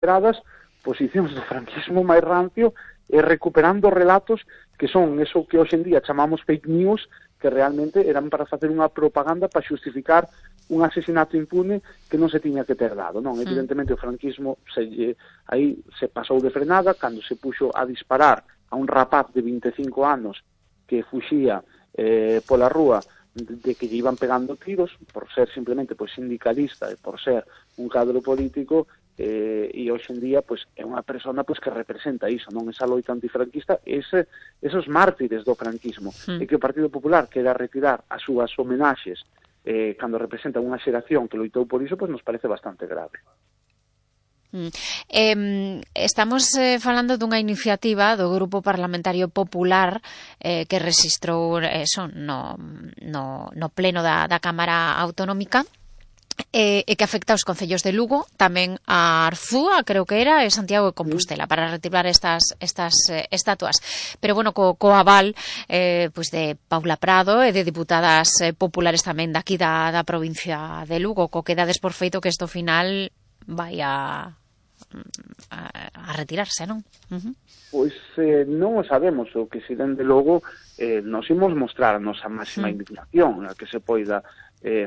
posicións do franquismo máis rancio e recuperando relatos que son eso que hoxe en día chamamos fake news, que realmente eran para facer unha propaganda para xustificar un asesinato impune que non se tiña que ter dado, non? Evidentemente o franquismo aí se pasou de frenada cando se puxo a disparar a un rapaz de 25 anos que fuxía pola rúa de que lle iban pegando tiros por ser simplemente sindicalista e por ser un cadro político, e hoxe en día é unha persona que representa iso, non, esa loita antifranquista, esos mártires do franquismo, e que o Partido Popular quera retirar as súas homenaxes cando representa unha xeración que loitou por iso, nos parece bastante grave. Estamos falando dunha iniciativa do Grupo Parlamentario Popular que rexistrou no pleno da Cámara Autonómica e que afecta aos concellos de Lugo, tamén a Arzúa, creo que era, e Santiago de Compostela, para retirar estas estatuas. Pero, bueno, co aval de Paula Prado e de diputadas populares tamén daqui da provincia de Lugo, co que dades por feito que isto final vai a retirarse, non? Pois non o sabemos, o que si dende logo nos imos mostrar a nosa máxima indignación a que se poida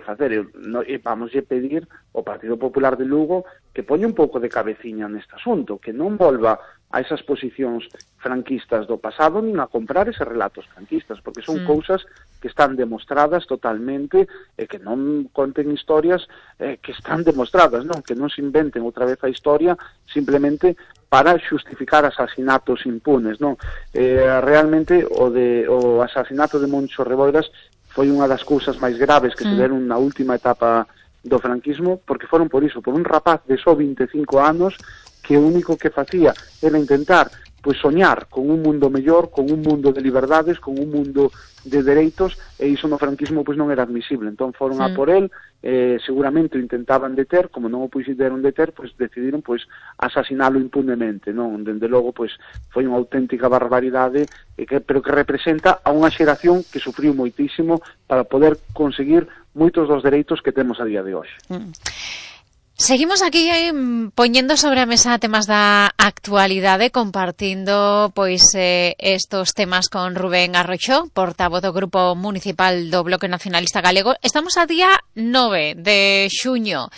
facer, e vamos pedir ao Partido Popular de Lugo que poña un pouco de cabeciña neste asunto, que non volva a esas posicións franquistas do pasado nin a comprar eses relatos franquistas, porque son cousas que están demostradas totalmente e que non conten historias que están demostradas, non, que non se inventen outra vez a historia simplemente para xustificar asasinatos impunes, non? Realmente o asasinato de Moncho Reboiras foi unha das cousas máis graves que se deron na última etapa do franquismo, porque foron por iso, por un rapaz de só 25 anos que o único que facía era intentar soñar con un mundo mellor, con un mundo de liberdades, con un mundo de dereitos, e iso no franquismo non era admisible. Entón foron a por el, seguramente o intentaban deter, como non o puideron deter, decidiron asasinalo impunemente, non? Dende logo foi unha auténtica barbaridade, pero que representa a unha xeración que sufriu moitísimo para poder conseguir moitos dos dereitos que temos a día de hoxe. Seguimos aquí poñendo sobre a mesa temas da actualidade, compartindo estos temas con Rubén Arroxó, portavoz do Grupo Municipal do Bloque Nacionalista Galego. Estamos a día 9 de xuño.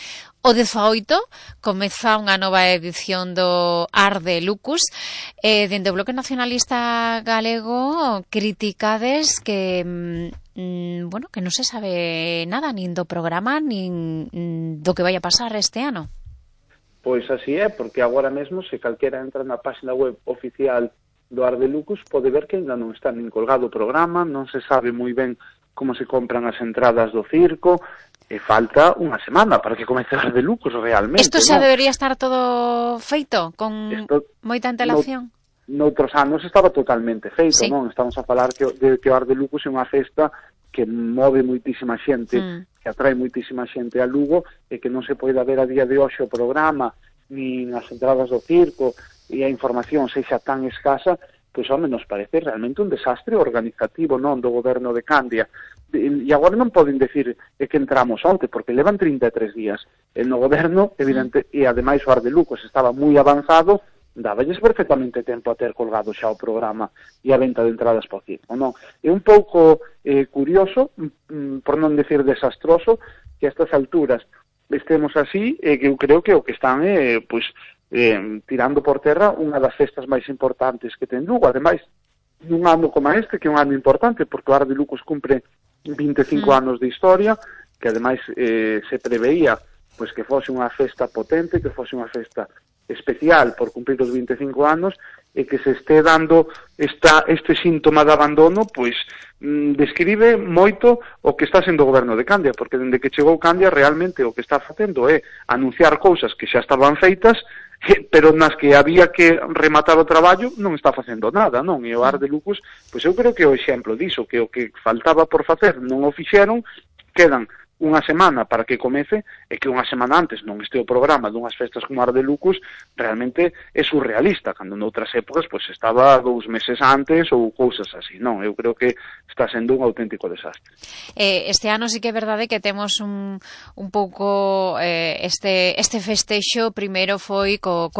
O 18 comeza unha nova edición do Ar de Lucus. Dende o Bloque Nacionalista Galego criticades que que non se sabe nada nin do programa nin do que vai a pasar este ano. Pois así é, porque agora mesmo se calquera entra na página web oficial do Ar de Lucus pode ver que ainda non está nin colgado o programa, non se sabe moi ben como se compran as entradas do circo, e falta unha semana para que comece o Ar de Lucus realmente. Isto xa debería estar todo feito con moita antelación? Noutros anos estaba totalmente feito, non? Estamos a falar que o Ar de Lucus é unha festa que move moitísima xente, que atrae moitísima xente a Lugo, e que non se pode ver a día de hoxe o programa, nin as entradas do circo, e a información sexa tan escasa, nos parece realmente un desastre organizativo, non, do goberno de Candia. E agora non poden decir que entramos onte, porque levan 33 días no goberno, evidente, e ademais o Ar de Lucus estaba moi avanzado, dáballes perfectamente tempo a ter colgado xa o programa e a venta de entradas por circo, non? É un pouco curioso, por non decir desastroso, que a estas alturas estemos así, e que eu creo que o que están tirando por terra unha das festas máis importantes que ten Lugo. Ademais, nun ano como este, que é un ano importante, porque o Ar de Lucus cumpre 25 anos de historia, que ademais se preveía que fose unha festa potente, que fose unha festa especial por cumprir os 25 anos, e que se este dando este síntoma de abandono, describe moito o que está sendo o goberno de Candia, porque dende que chegou Candia realmente o que está facendo é anunciar cousas que xa estaban feitas, pero nas que había que rematar o traballo non está facendo nada, non? E o Ar de Lucus, eu creo que é o exemplo diso, que o que faltaba por facer non o fixeron, quedan unha semana para que comece e que unha semana antes non este o programa dunhas festas como Ar de Lucus realmente é surrealista, cando noutras épocas pois estaba 2 meses antes ou cousas así, non? Eu creo que está sendo un auténtico desastre. Este ano sí que é verdade que temos un pouco este festexo, primeiro foi co